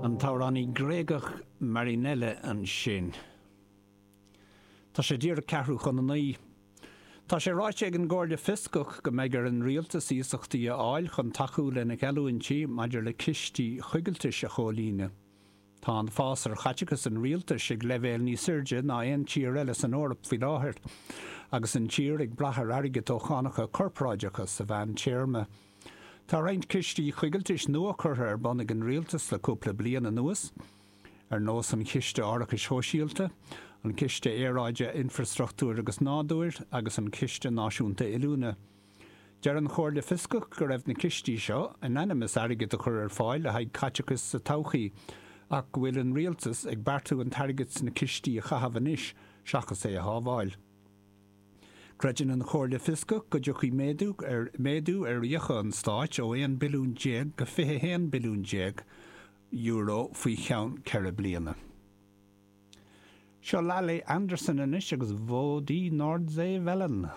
An t-amhránaí Gréagach Marinella ansin. Tá sé díreach ceathrú chun a naoi. Tá sé ráite ag an gComhairle Fioscach go mbeidh ar an rialtas iasachtaí a fháil chun tacú lena gheallúintí maidir le cistí choigiltis a chomhlíonadh. Tá an fás ar chaiteachas an rialtais ag leibhéal níos airde ná aon tír eile san Eoraip faoi láthair, agus an tír ag brath ar airgead ó chánacha corparáideacha sa mheántéarma. Tá roinnt cistí choigiltis nua curtha ar bun ag an rialtas le cúpla bliain anuas. ar nós an Chiste Árachais Shóisialta, an Ciste Aeráide, Infreastruchtúir agus Nádúir agus an Ciste Náisiúnta Oiliúna. Deir an Chomhairle Fioscach go raibh na cistí seo in ainm is airgead a chur ar fáil le haghaidh caiteachais sa todhchaí ach go bhfuil an rialtas ag beartú an t-airgead sna cistí a chaitheamh anois seachas é a shábháil. Creideann an Chomhairle Fioscach go dtiocfaidh méadú ar méadú ar fhiacha an stáit ó 11 billiún go 21 billiún euro faoi cheann 4 bliana. Seo Lale Andersen anois agus Wo die Nordsee Wellen.